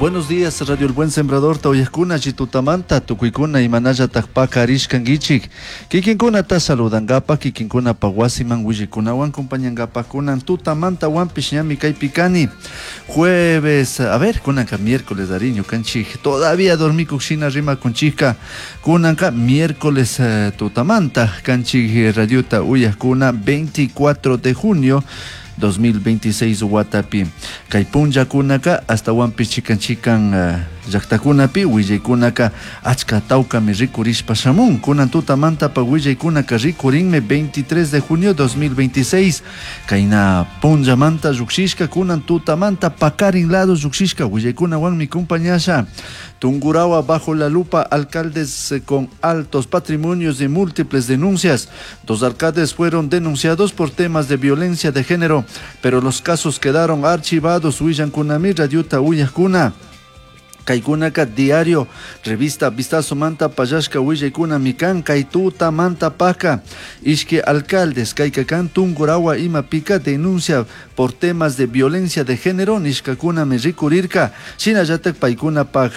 Buenos días, Radio El Buen Sembrador, uyajkuna tutamanta, tukuykuna imanallataj pakarishkankichik. Kikinkunata saludangapa, kikinkunapa wasiman willaykunawan compañangapa kunan tutamanta wampish ñami kaypi kani. Jueves, a ver, kunanka miércoles ari ñukanchik todavía dormikuq shina rimakunchikka. Kunanka miércoles tutamanta kanchik radiota uyajkuna 24 de junio 2026 watapi. Kay punllakunaka astawanpish chikan chikan llaktakunapi willaykunaka achka tawkami rikurishpa shamun. Kunan tutamantapa willaykunaka rikurinmi 23 de junio 2026. Kayna punllamanta llukshishka kunan tutamanta pakarin lado llukshishka willaykunawanmi compañasha. Tungurahua bajo la lupa, alcaldes con altos patrimonios y múltiples denuncias. Dos alcaldes fueron denunciados por temas de violencia de género, pero los casos quedaron archivados. Willankunami radiota uyajkuna. Kaykunaka diario, revista Vistazo Manta Payashka willaykuna mikan kay tutamanta paka. Ishki alcaldes kaykakan Tungurahua imapika denuncia por temas de violencia de género nishkakuna mi rikurirka. Shinallatak paykunapaj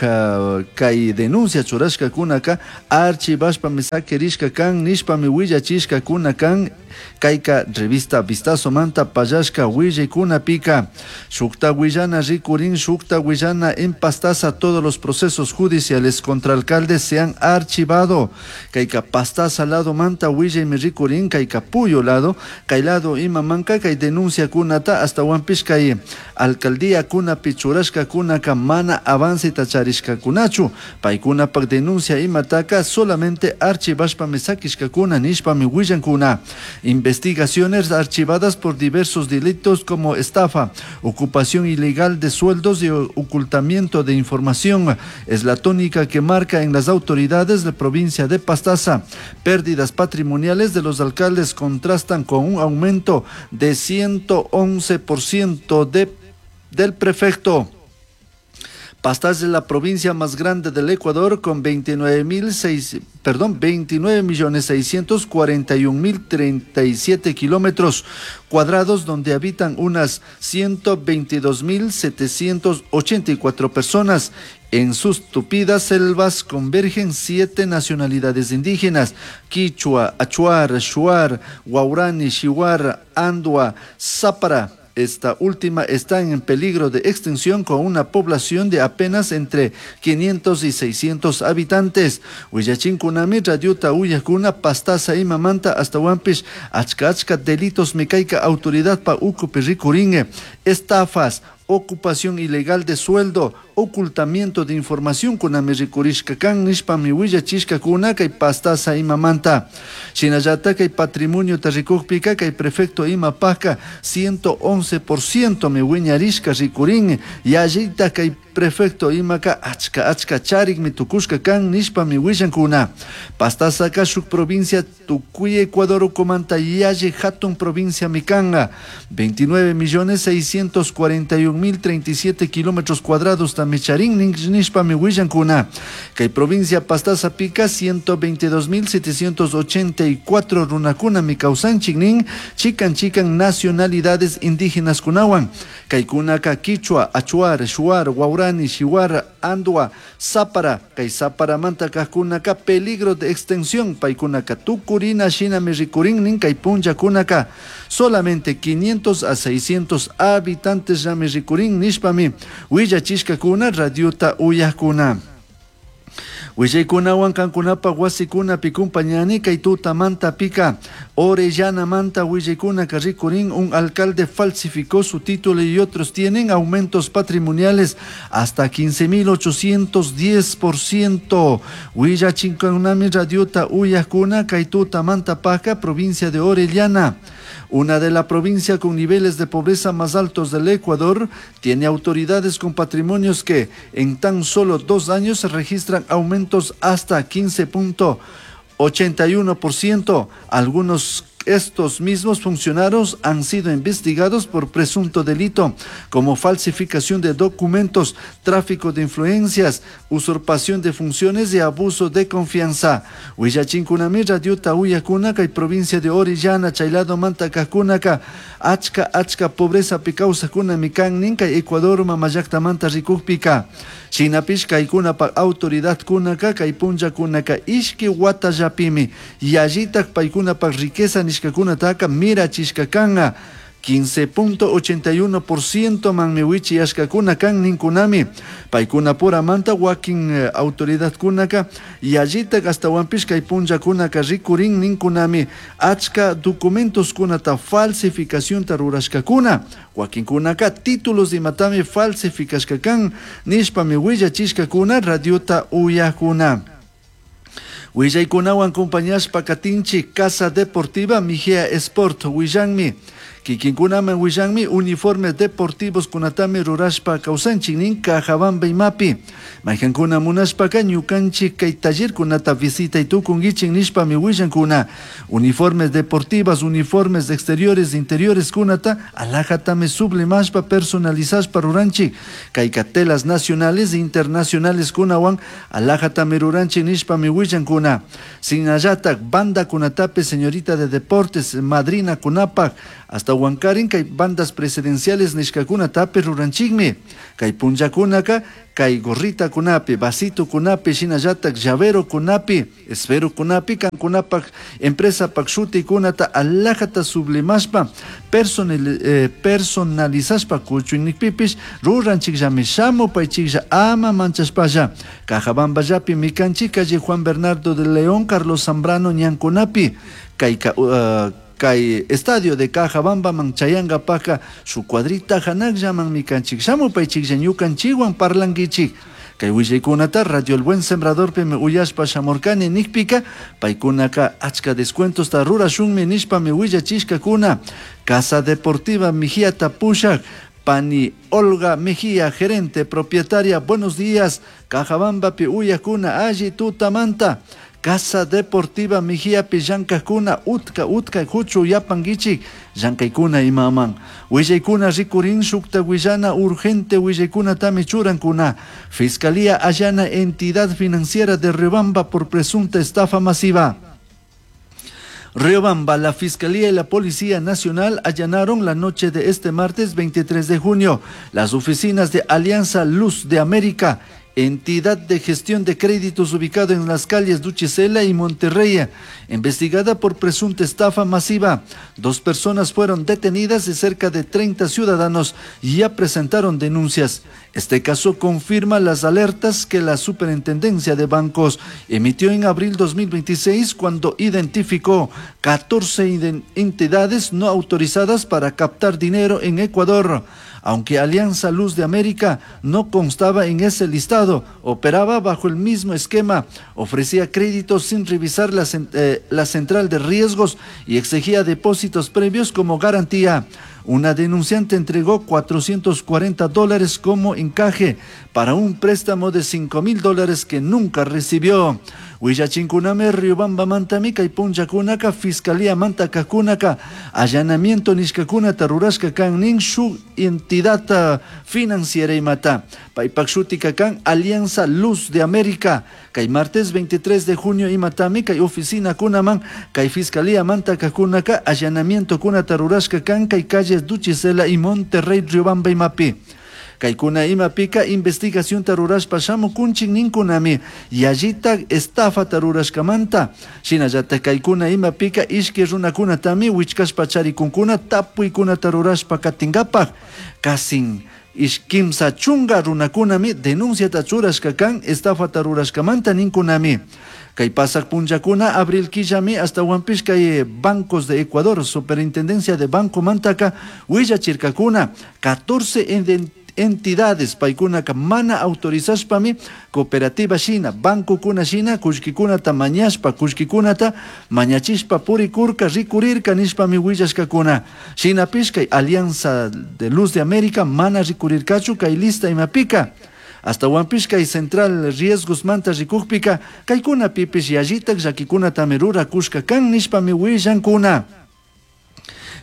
kay denuncia churashkakunaka archivashpami sakirishka kan nishpami willachishkakuna kan kayka revista Vistazo Manta Payashka willaykunapika. Shukta willana rikurin, shukta willana en Pastaza todos los procesos judiciales contra alcaldes se han archivado. Kayka Pastaza lado manta willaymi rikurin, kayka Puyo lado, kay lado imamanka kay denuncia kunata hasta wampish kay alcaldía kunapi churashka kunaka mana avance tacharishkakunachu. Paykunapak denuncia imataka solamente archivashpami sakishkakuna nishpami willankuna. Investigaciones archivadas por diversos delitos como estafa, ocupación ilegal de sueldos y ocultamiento de información es la tónica que marca en las autoridades de la provincia de Pastaza. Pérdidas patrimoniales de los alcaldes contrastan con un aumento de 111% del prefecto. Pastaza es la provincia más grande del Ecuador con veintinueve mil seis, perdón, 29.641.037 kilómetros cuadrados, donde habitan unas 122.784 personas. En sus tupidas selvas convergen 7 nacionalidades indígenas: quichua, achuar, shuar, guaurani, shiwar, andua, zápara. Esta última está en peligro de extinción con una población de apenas entre 500 y 600 habitantes. Willachinkunami radiota uyakuna Pastaza imamanta hasta Huampish achka achka delitos mecaica autoridad pa ucupi rikuringue, estafas, ocupación ilegal de sueldo, ocultamiento de información kunami rikurishka kan nishpami willachishka kuna kay Pastaza imamanta. Shinallata kay patrimonio tarikukpika kay prefecto imapaka 111% mi wiñarishka rikurin, yallita kay prefecto imaka achka achka charik mi tukushka kan nishpami willankuna. Pastaza ka shuk provincia tukuy Ecuador ukumanta yalli hatun provincia mikanga, 29.641.037 kilómetros cuadrados tamicharin nishpami willankuna. Kay provincia Pastaza pica 122.784 runakuna mi kawsanchik nin chikan chikan nacionalidades indígenas kunawan. Kaykunaka quichua, achuar, shuar, guaurani, shiwar, andua, zápara. Kay záparamanta kajkunaka peligro de extinción. Paykunaka tukurina shinami rikurin nin kay punllakunaka solamente 500 a 600 habitantes yami rikurin nishpami willachishkakuna radiota uyajkuna. Willaykunawan kankunapa wasikunapi kumpañani kay tutamanta pika. Orellana manta willaykunaka rikurin, un alcalde falsificó su título y otros tienen aumentos patrimoniales hasta 15.810%. Willachinkunami radiota uyajkuna kay tutamanta paja, provincia de Orellana. Una de la provincia con niveles de pobreza más altos del Ecuador, tiene autoridades con patrimonios que en tan solo 2 años registran aumentos hasta 15.81%. Algunos Estos mismos funcionarios han sido investigados por presunto delito como falsificación de documentos, tráfico de influencias, usurpación de funciones y abuso de confianza. Willachinkunami radiota uyakuna kay provincia de Orellana chay ladomanta kajkunaka achka achka pobrezapi kawsajkunami kan nin kay Ecuador mamallaktamanta rikukpika. Shinapish kaykunapak autoridadkunaka kay punllakunaka ishki watallapimi yallitak paykunapak riqueza nishkakunataka mirachishka kanka. 15.81% manmi wichiyashkakuna kan ninkunami. Paykunapuramanta wakin autoridadkunaka yallitak ashtawanpish kay punllakunaka rikurin ninkunami achka documentoskunata falsificacionta rurashkakuna. Wakinkunaka títulos imatami falsificashka kan nishpami willachishkakuna radiota uyakuna. Willaykunawan compañashpa katinchik Casa Deportiva Mejía Sport willanmi. Kikinkunaman willanmi uniformes deportivos kunatami rurashpa kawsanchik nin Cajabamba imapi. Maykankuna munashpaka ñukanchik kay tallerkunata visitay tukunkichik nishpami willankuna. Uniformes deportivas, uniformes exteriores, interiores kunata alajatami sublimashpa personalizashpa ruranchik. Kayka telas nacionales e internacionales kunawan alajatami ruranchik nishpami willankuna. Shinallatak banda kunatapi señorita de deportes madrina kunapak hasta Huancarin kay bandas presidenciales nishkakunatapi ruranchikmi. Kay punllakunaka kay gorrita kunapi, vasito kunapi, shinallatak llavero kunapi, esfero kunapi, kankunapak empresapak shutikunata alajata sublimashpa personalizashpa kuchunikpipish ruranchikllami shamupaychiklla ama manchashpalla. Cajabamballapi mikanchik calle Juan Bernardo de León, Carlos Zambrano ñankunapi, kayka kay estadio de Cajabamba man chayangapaka su cuadrita hanakllaman mikanchik shamupaychiklla ñukanchikwan parlankichik. Kay willaykunata Radio El Buen Sembradorpimi uyashpa shamurkani nikpika paykunaka achka descuentosta rurashunmi nishpami willachishkakuna. Casa Deportiva Mejía pushak Pani Olga Mejía, gerente propietaria, buenos días. Cajabambapi uyakuna alli tutamanta. Casa Deportiva Mejía pi llankajkuna utka utka huchu yapankichik llankaykuna imaman. Willaykuna rikurin shukta willana urgente willaykunatami churankuna. Fiscalía allana entidad financiera de Riobamba por presunta estafa masiva. Riobamba, la Fiscalía y la Policía Nacional allanaron la noche de este martes 23 de junio las oficinas de Alianza Luz de América, entidad de gestión de créditos ubicado en las calles Duchicela y Monterrey, investigada por presunta estafa masiva. 2 personas fueron detenidas y cerca de 30 ciudadanos ya presentaron denuncias. Este caso confirma las alertas que la Superintendencia de Bancos emitió en abril 2026 cuando identificó 14 entidades no autorizadas para captar dinero en Ecuador. Aunque Alianza Luz de América no constaba en ese listado, operaba bajo el mismo esquema, ofrecía créditos sin revisar la central de riesgos y exigía depósitos previos como garantía. Una denunciante entregó $440 como encaje para un préstamo de $5,000 que nunca recibió. Willachinkuname Riobamba mantami kay punllakunaka Fiscalía mantakakunaka allanamiento nishkakunata rurashka kan nin shuk entidad financiera imata. Paypak shutika kan Alianza Luz de América. Kay martes 23 de junio imatami kay oficina kunaman kay Fiscalía mantakakunaka allanamiento kunata rurashka kan kay calles Duchicela y Monterrey Riobamba imapi. Kaykuna imapika investigación tarurashpa shamukunchik ninkunami yallita estafa tarurashkamanta. Shinallata kaykuna imapika ishki runakunatami wichkashpa charikunkuna tapuykuna tarurashpa katinkapak. Kasin ishkimsa chunga runakunami denunciata churashka kan estafa tarurashkamanta ninkunami. Kay pasak punllakuna abril killami hasta Huampish kay Bancos de Ecuador, Superintendencia de Banco Mantaka, willachirkakuna 14 entidades paykunaka mana autorizashpami cooperativa shina, banco kuna shina, kullkikunata mañashpa, kullkikunata mañachishpa purikurka, rikurirka nishpami willashkakuna. Shinapish kay Alianza de Luz de América mana rikurirkachu kay lista imapika. Hasta Huampish kay Central Riesgos manta rikukpika, kaykuna pipish yallitak llakikunatami rurakushka kan nishpami willankuna.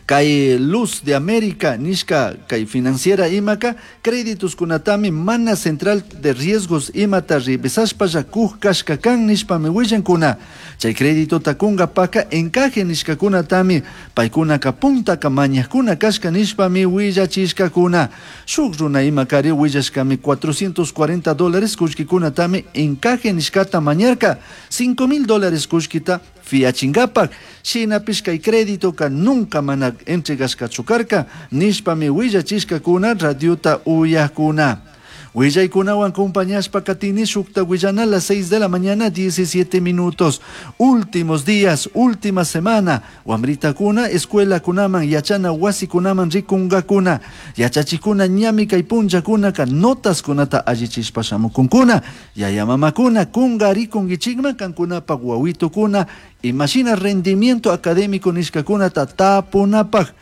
Kay Luz de América nishka kay financiera imaka créditos kunatami mana central de riesgos imata revisashpalla kuj kashka kan nishpami willankuna. Chay créditota kunkapaka encaje nishkakunatami paykunaka puntaka mañajkuna kashka nishpami willachishkakuna. Shuk runa imakari willashkami $440 kullkikunatami encaje nishkata mañarka, $5000 kullkita fiachinkapak. Shinapish kay créditoka nunca mana entregashkachu karka nishpami willachishkakuna radiota uyakuna. Willaykunawan acompañashpa katini shukta willana a las 6 de la mañana 17 minutos. Últimos días, última semana. Wamritakuna escuelakunaman yachana wasikunaman rikunkakuna. Yachachikuna ñami kay punllakunaka notaskunata allichishpa shamukunkuna. Yaya mamakuna kungarikunkichikman kankunapak wawitukuna imashina rendimiento académico nishkakunata tapunapak.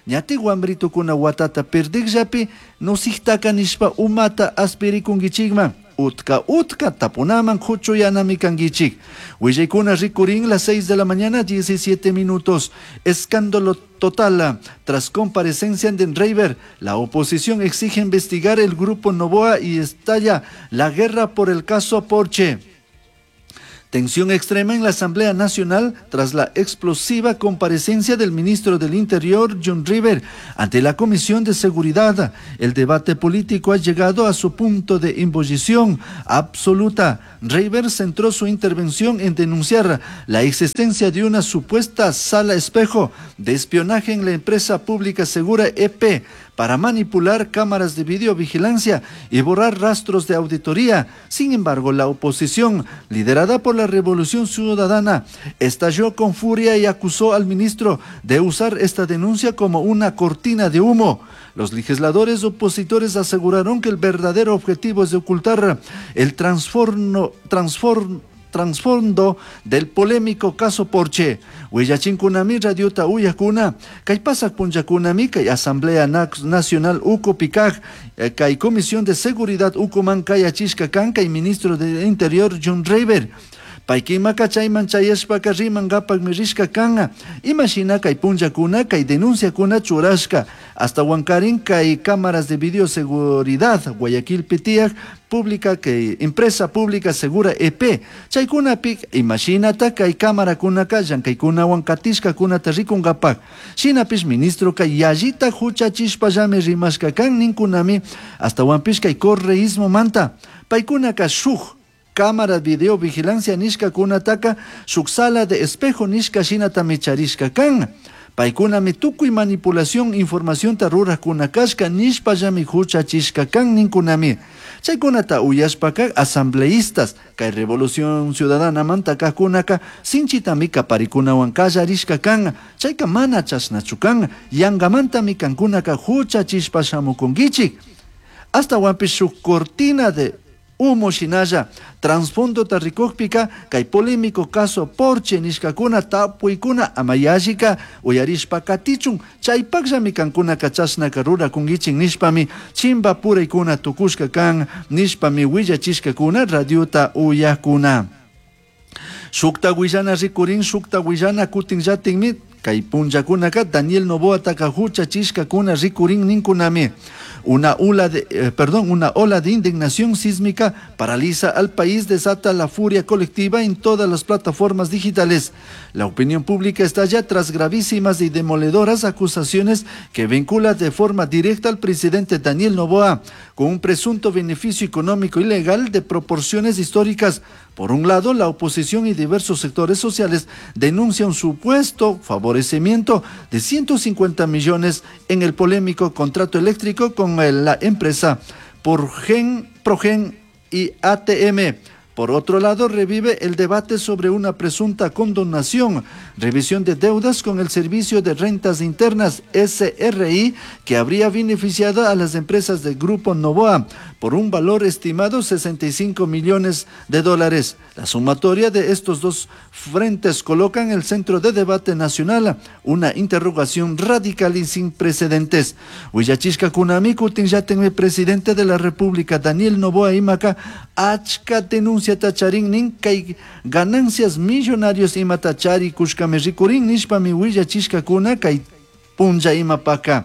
Ñati wambritukuna watata perdikllapi nusiktaka nishpa umata aspirikunkichikman. Utka utka tapunaman kuchuyanami kankichik. Willaykuna rikurin las 6 de la mañana 17 minutos. Escándalo total. Tras comparecencia de Reyber, la oposición exige investigar el grupo Noboa y estalla la guerra por el caso Porche. Tensión extrema en la Asamblea Nacional tras la explosiva comparecencia del ministro del Interior, John River, ante la Comisión de Seguridad. El debate político ha llegado a su punto de ebullición absoluta. River centró su intervención en denunciar la existencia de una supuesta sala espejo de espionaje en la empresa pública Segura EP para manipular cámaras de videovigilancia y borrar rastros de auditoría. Sin embargo, la oposición, liderada por la Revolución Ciudadana, estalló con furia y acusó al ministro de usar esta denuncia como una cortina de humo. Los legisladores opositores aseguraron que el verdadero objetivo es de ocultar el trasfondo del polémico caso Porche. Willachinkunami radiota uyakuna, kay pasak punllakunami kay Asamblea Nacional ukupikaj, kay Comisión de Seguridad ukuman kayachishka kan kay ministro del Interior John Reyber. Paykimaka chayman chayashpaka rimankapakmi rishka kanka. Imashina kay punllakuna kay denunciakuna churashka. Hasta Huancarín kay cámaras de videoseguridad Guayaquil tiyaj pública kay empresa pública Segura EP. Chaykunapi imashinata kay cámarakunaka llankaykunawan katishkakunata rikunkapak. Shinapish ministro kay yallita huchachishpallami rimashka kan ninkunami hasta huanpish kay correísmo manta. Paykunaka shuk cámara video vigilancia nishkakunataka shuk sala de espejo nishka shinatami charishka kan. Paykunami tukuy manipulación informacionta rurakuna kashka nishpallami huchachishka kan ninkunami. Chaykunata uyashpaka asambleístas kay Revolución Ciudadana manta kajkunaka sinchitami kaparikunawan kallarishka kan. Chayka mana chashnachu kan, yangamantami kankunaka huchachishpa shamukunkichik. Hasta huanpish shuk cortina de humo shinalla trasfondo rikukpika kay polémico caso Porche nishkakuna tapuykuna amayallika uyarishpa katichun chaypakllami kankunaka chashnaka rurakunkichik nishpami chimba puraykuna tukushka kan nishpami willachishkakuna radiota uyakuna. Shukta willana rikurin shukta willana kutinllatinmi kay punllakunaka Daniel Noboataka huchachishkakuna rikurin ninkunami. Una ola de, perdón, una ola de indignación sísmica paraliza al país, desata la furia colectiva en todas las plataformas digitales. La opinión pública estalla tras gravísimas y demoledoras acusaciones que vincula de forma directa al presidente Daniel Noboa con un presunto beneficio económico ilegal de proporciones históricas. Por un lado, la oposición y diversos sectores sociales denuncian un supuesto favorecimiento de 150 millones en el polémico contrato eléctrico con la empresa Progen y ATM. Por otro lado, revive el debate sobre una presunta condonación, revisión de deudas con el Servicio de Rentas Internas, SRI, que habría beneficiado a las empresas del Grupo Noboa por un valor estimado 65 millones de dólares. La sumatoria de estos dos frentes coloca en el centro de debate nacional una interrogación radical y sin precedentes. Willachishkakunami kutinllatinmi presidente de la República, Daniel Noboa imaka, achka denuncia charin nin kay ganancias millonarios imata charikushkami rikurin nishpami willachishkakuna kay Punlla imapaka.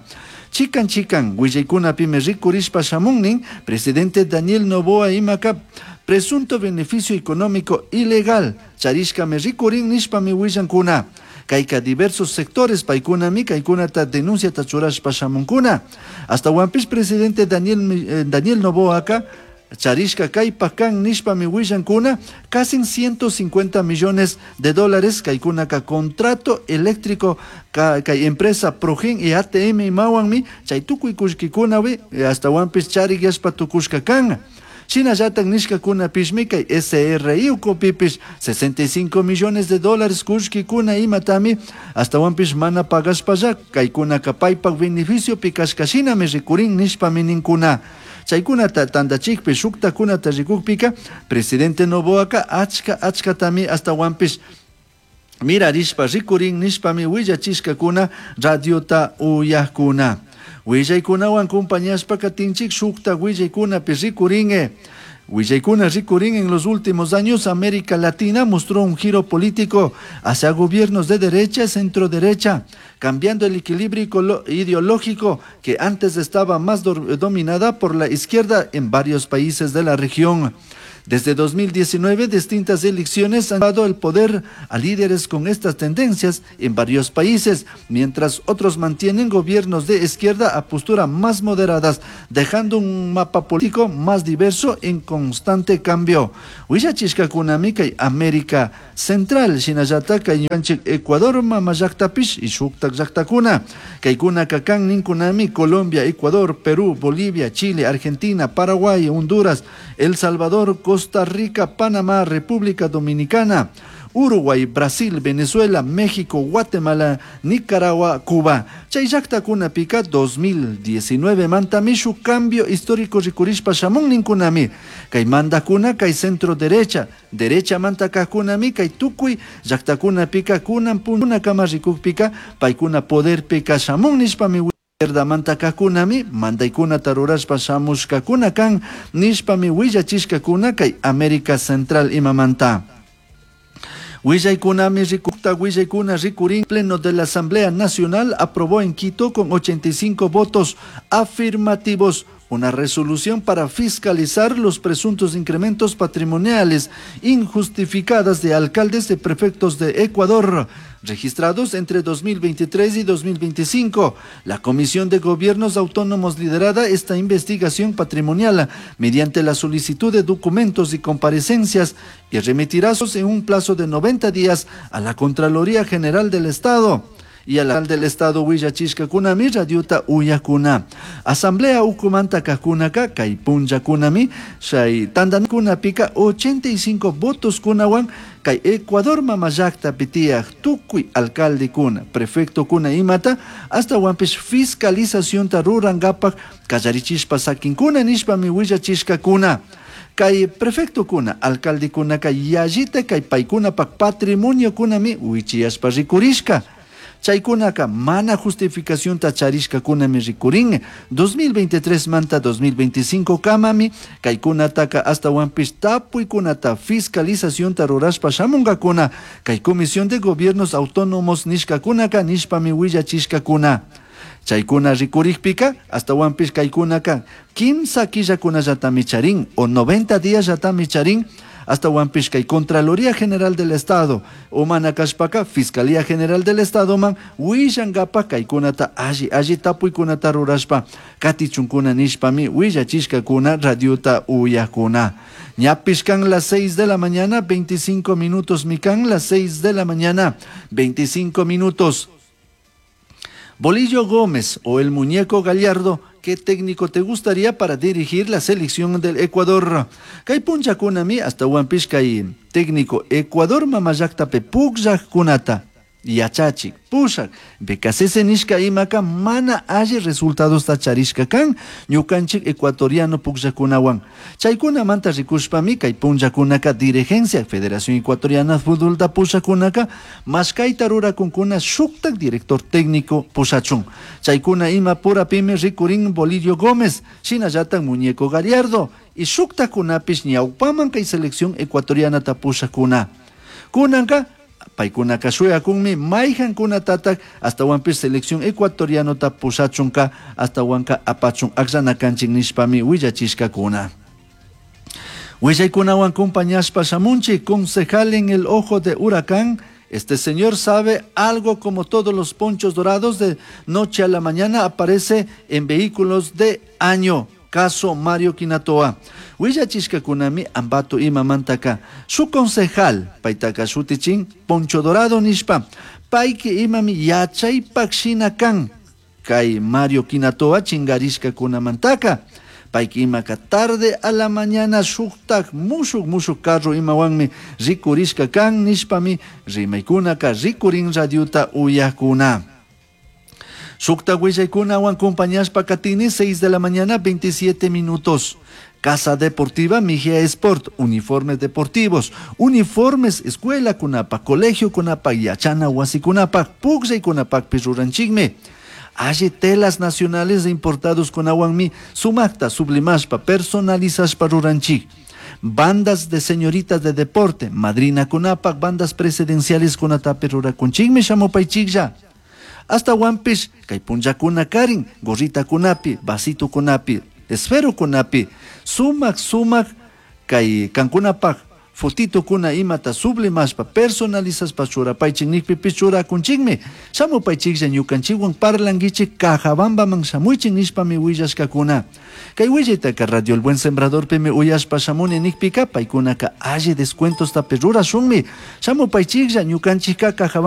Chikan chikan willaykunapimi rikurishpa shamunnin presidente Daniel Noboa imaka presunto beneficio económico ilegal charishkami rikurin nishpami willankuna. Kayka diversos sectores paykunami kaykunata denunciata churashpa shamunkuna. Ashtawanpish presidente Daniel Noboaka charishka kaypak kan nishpami willankuna casi 150 millones de dólares kaykunaka contrato eléctrico kay empresa Progen y ATM imawanmi chay tukuy kullkikunawi ashtawanpish chariyashpa tukushka kan. Shinallatak nishkakunapishmi kay SRI ukupipish 65 millones de dólares kullkikuna imatami ashtawanpish mana pagashpalla kaykunaka paypak beneficiopi kashka shinami rikurin nishpami ninkuna. Chaykunata tandachikpi shuktakunata rikukpika presidente Noboaka achka achkatami ashtawanpish mirarishpa rikurin nishpami willachishkakuna radiota uyakuna. Willaykunawan compañashpa katinchik shukta willaykunapi rikurin. Willaykuna rikurin en los últimos años América Latina mostró un giro político hacia gobiernos de derecha y centro derecha, cambiando el equilibrio ideológico que antes estaba más dominada por la izquierda en varios países de la región. Desde 2019, distintas elecciones han dado el poder a líderes con estas tendencias en varios países, mientras otros mantienen gobiernos de izquierda a postura más moderadas, dejando un mapa político más diverso en constante cambio. Willachishkakunami kay América Central, shinallata kay ñukanchik Ecuador mama llaktapish y shuktak llaktakuna. Kaykunaka kan ninkunami Colombia, Ecuador, Perú, Bolivia, Chile, Argentina, Paraguay, Honduras, El Salvador, Costa Rica, Panamá, República Dominicana, Uruguay, Brasil, Venezuela, México, Guatemala, Nicaragua, Cuba. Chay llaktakunapika 2019 mantami shuk cambio histórico rikurishpa shamun ninkunami. Kay mandakuna kay centro derecha, derecha manta kajkunami kay tukuy llaktakunapika kunan punakama rikukpika paykuna poderpika shamun nishpami izquierda manta kajkunami mandaykunata rurashpa shamushkakuna kan nishpami willachishkakuna kay América Central imamanta. Willaykunami rikukta willaykuna rikurin pleno de la Asamblea Nacional aprobó en Quito con 85 votos afirmativos una resolución para fiscalizar los presuntos incrementos patrimoniales injustificadas de alcaldes y prefectos de Ecuador, registrados entre 2023 y 2025. La Comisión de Gobiernos Autónomos liderada esta investigación patrimonial mediante la solicitud de documentos y comparecencias y remitirá en un plazo de 90 días a la Contraloría General del Estado y a la del Estado willachishkakunami radiota uyakuna. Asamblea ukumanta kajkunaka kay punllakunami chay tantankunapika 85 votos kunawan kay Ecuador mama llaktapi tiyaj tukuy alcaldekuna, prefectokuna imata ashtawanpish fiscalizacionta rurankapak kallarichishpa sakinkuna nishpami willachishkakuna. Kay prefectokuna, alcaldekunaka yallita kay paykunapak patrimoniokunami wichiyashpa rikurishka. Chaykunaka mana justificacionta charishkakunami rikurin. 2023 manta 2025 kamami kaykunataka ashtawanpish tapuykunata fiscalizacionta rurashpa shamunkakuna kay Comisión de Gobiernos Autónomos nishkakunaka nishpami willachishkakuna. Chaykuna rikurikpika ashtawanpish kaykunaka kimsa killakunallatami charin o 90 días charin ashtawanpish kay Contraloría General del Estado o mana kashpaka Fiscalía General del Estado man willankapak kaykunata alli alli tapuykunata rurashpa katichunkuna nishpami willachishkakuna radiota uyakuna. Ñapish kan las 6 de la mañana 25 minutos mikan las 6 de la mañana 25 minutos. Bolillo Gómez o el muñeco Gallardo, ¿qué técnico te gustaría para dirigir la selección del Ecuador? Kay punllakunami ashtawanpish kay técnico Ecuador mama llaktapi pukllajkunata yachachik, pushak, Beccacece nishka imaka mana alli resultadosta charishka kan ñukanchik ecuatoriano pukllakunawan. Chaykunamanta rikushpami kay punllakunaka dirigencia Federación Ecuatoriana de Fútbolta pushakunaka mashkayta rurakunkuna shuktak director técnico pushachun. Chaykuna ima purapimi rikurin Bolillo Gómez, shinallatak Muñeco Gallardo y shuktakunapish ñawpaman kay selección ecuatorianata pushakuna. Kunanka Paykunaka shuyakunmi mayqankunatatak astawanpish selección ecuatorianota pushachunka astawanka apachun akllana kanchik nishpami willachishkakuna. Willaykunawan compañashpa shamunchik concejal en el ojo de huracán. Este señor sabe algo como todos los ponchos dorados de noche a la mañana aparece en vehículos de año. Caso Mario Quinatoa. Willachishkakunami Ambato imamantaka su concejal paytaka shutichin Poncho Dorado nishpa payki imami yachaypak shina kan kay Mario Quinatoa chingarishkakunamantaka payki imaka tarde a la mañana shuktak mushuk mushuk carro imawanmi rikurishka kan nishpami rimaykunaka rikurin radiota uyakuna. Shukta willaykunawan compañashpa katini 6 de la mañana 27 minutos. Casa Deportiva Mejía Sport, uniformes deportivos, uniformes escuela kunapa, colegio kunapa, yachana wasikunapa, pukllay kunapakpish ruranchikmi. Alli telas nacionales importados kunawanmi sumakta sublimashpa personalizashpa ruranchik. Bandas de señoritas de deporte, madrina kunapak, bandas presidenciales kunatapi rurakunchikmi shamupaychiklla. Astawanpish kay punllakuna karin gorrita kunapi, vasito kunapi, esfero kunapi, sumak sumak kay kankunapak fotito kuna imata sublimashpa personalizashpa churapaychik nikpipish churakunchikmi. Shamupaychiklla ñukanchikwan parlankichik Cajabambaman shamuychik nishpami willashkakuna. Kay willaytaka Radio El Buen Sembradorpimi uyashpa shamuni nikpika paykunaka alli descuentostapi rurashunmi. Shamupaychiklla ñukanchikka Cajabamba.